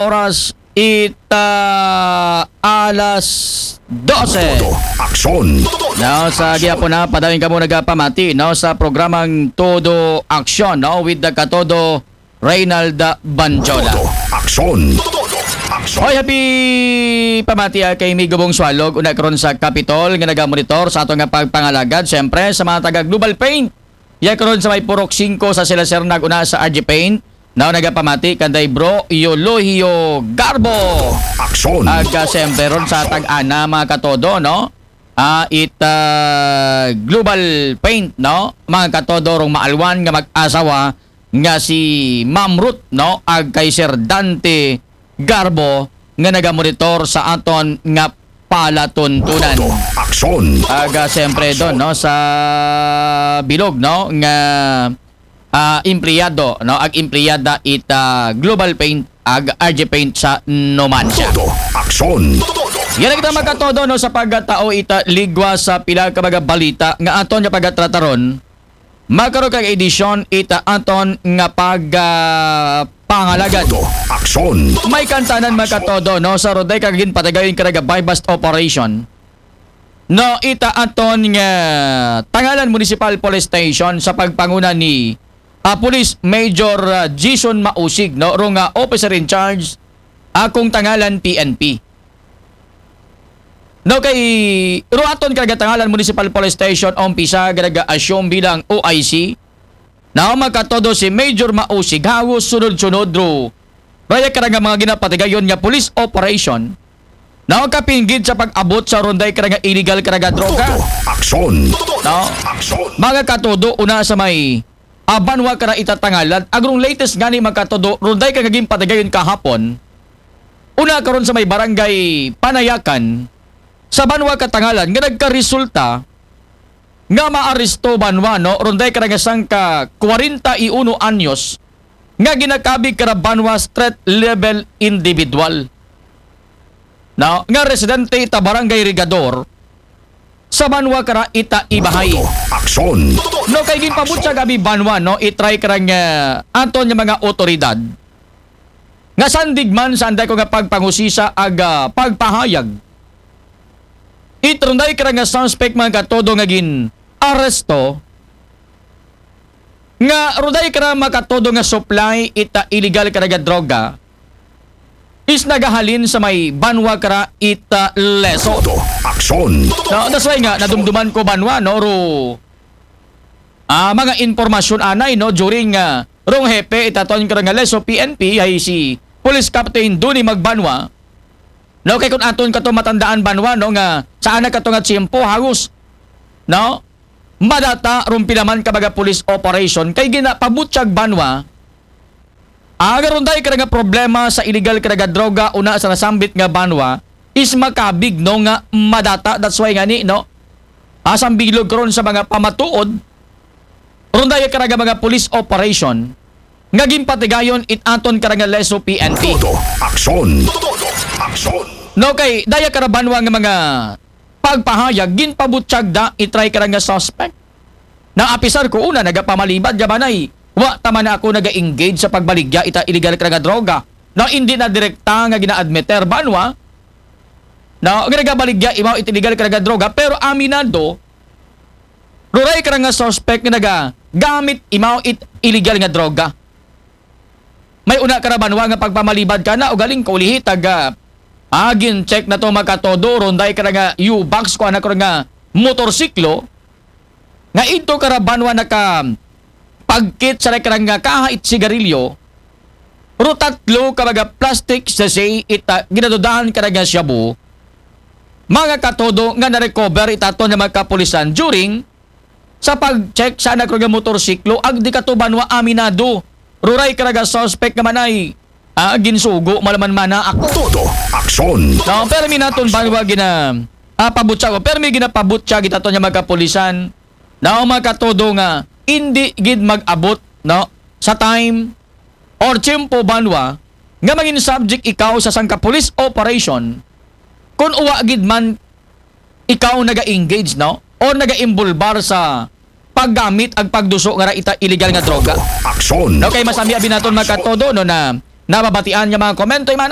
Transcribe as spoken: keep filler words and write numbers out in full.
oras ita alas dose. Todo aksyon. No, sa gihapon na, padayon kamo nagapamati, no, sa programang Todo Aksyon, no, with the Katodo Reynald Banjola. Todo aksyon. Todo aksyon. Hoy, happy pamati, ah, kay Migo Bong Sualog, una karon sa Capitol, nga nagamonitor sa ato nga pagpangalagad. Siyempre, sa mga taga Global Paint, ya karon sa may Purok singko sa Sila Sir, nag-una sa R G Paint, no, nagapamati kanday Bro Eulogia Garbo. Aksyon. Ag, ah, siyempre ron sa Tag-ana, mga katodo, no? Ah, it, ah, Global Paint, no? Mga katodo, rong maalwan nga mag-asawa nga si Ma'am Ruth, no? Ag kay Sir Dante Garbo nga nagamonitor sa aton nga palatuntunan. Todo aksyon. Ag, ah, siyempre don, no, sa bilog, no, nga, ah, empleyado, no, ag empleyada ita Global Paint, ag R G Paint sa Numancia. Todo aksyon. Yan ang kita, mga katodo, no, sa pagkatao ita ligwa sa pila ka mga balita nga aton nga pagatrataron. Makaron kag edisyon ita aton nga pag, ah, pangalagad. Todo aksyon. May kantanan, mga katodo, no, sa ron day ka ginpatigayon karaga buy-bust operation. No, ita aton nga Tangalan Municipal Police Station sa pagpanguna ni, ah, Police Major, ah, Jason Mausig, no, ro nga officer in charge, akong Tangalan P N P. No, kay ro aton karaga Tangalan Municipal Police Station, umpisa karaga assume bilang O I C. Now, mga katodo, si Major Mausig, halos sunod-sunod ro raya karaga mga ginapatigayon nga police operation. Now, kapinggid sa pag-abot sa ron day karaga illegal karaga droga. Todo aksyon. No? Aksyon. Mga katodo, una sa may, ah, banwa kara ita Tangalan, ag rong latest ngani, mga katodo, ron day karaga ginpatigayon kahapon. Una karon sa may barangay Panayakan, sa banwa ka Tangalan, nga nagkaresulta nga maaresto banwa, no, ron day karaga sangka kwarenta y uno anyos nga ginakabig kara banwa street level individual, no, nga residente ita Barangay Regador sa banwa kara ita Ibajay. Todo aksyon. No, kay ginpabutyag abi banwa, no, i-try kara nga aton nga mga otoridad nga sandig man sa anday ko nga pagpangusisa ag, ah, pagpahayag, it ron day kara nga suspect, mga katodo, nga gin-aresto, nga ron day kara, mga katodo, nga supply ita illegal karaga droga is nagahalin sa may banwa kara ita Lezo. Todo aksyon. No, that's why nga nadumduman ko banwa, no, ro, ah, mga impormasyon anay, no, during, ah, rong hepe ita aton karaga Lezo P N P, ay si Police Captain Duni Magbanwa. No, kay kun aton kato matandaan banwa, no, nga sa ana kato nga tiyempo, halos, no, madata rong pila man ka mga police operation kay ginapabutyag banwa. Aga ron day karaga problema sa illegal karaga droga una sa nasambit nga banwa is makabig, no, nga madata. That's why ngani, no, asang bilog karon sa mga pamatuod, ron day karaga mga police operation nga ginpatigayon it aton karaga Lezo P N P. Todo aksyon. Todo aksyon. No, kay daya kara banwa nga mga pagpahayag, ginpabutyag da i-try karaga suspect. Na apisar ko una nagapamalibad ya banay, wa ta man ako naga-engage sa pagbaligya ita illegal karaga droga. Na hindi na direkta nga gina-admiter banwa na nagabaligya imaw ita illegal karaga droga, pero aminado ro ray karaga suspect nga nagagamit imaw it illegal nga droga. May una kara banwa nga pagpamalibad kana, ugaling kaulihi taga, ah, gin-check nato, mga katodo, ron day karaga U-Box, kuan na karaga motorsiklo, nga idto kara banwa naka pagkit sa karaga kaha it sigarilyo, ro tatlo ka mga plastic sachet ita ginadudahan karaga shabu, mga katodo, nga na-recover ita aton nga mga kapulisan during sa pag-check sa ana karaga motorsiklo, ag di kato banwa aminado ro ray karaga suspect nga manay, ah, ginsugo malaman mana ako. Todo aksyon. No, pero mi naton banwa gina, ah, pabutyag, pero mi ginapabutyag ita aton nga mga kapulisan. No, mga katodo, nga hindi gid mag-abot, no, sa time or tiyempo banwa nga mangin subject ikaw sa sangka police operation kun uwa gid man ikaw naga-engage, no, or naga-involbar sa paggamit ag pagduso nga ra ita illegal nga droga. Aksyon. No, kay masami abi naton, mga katodo, no, na nababatian nga mga komento, Imanay.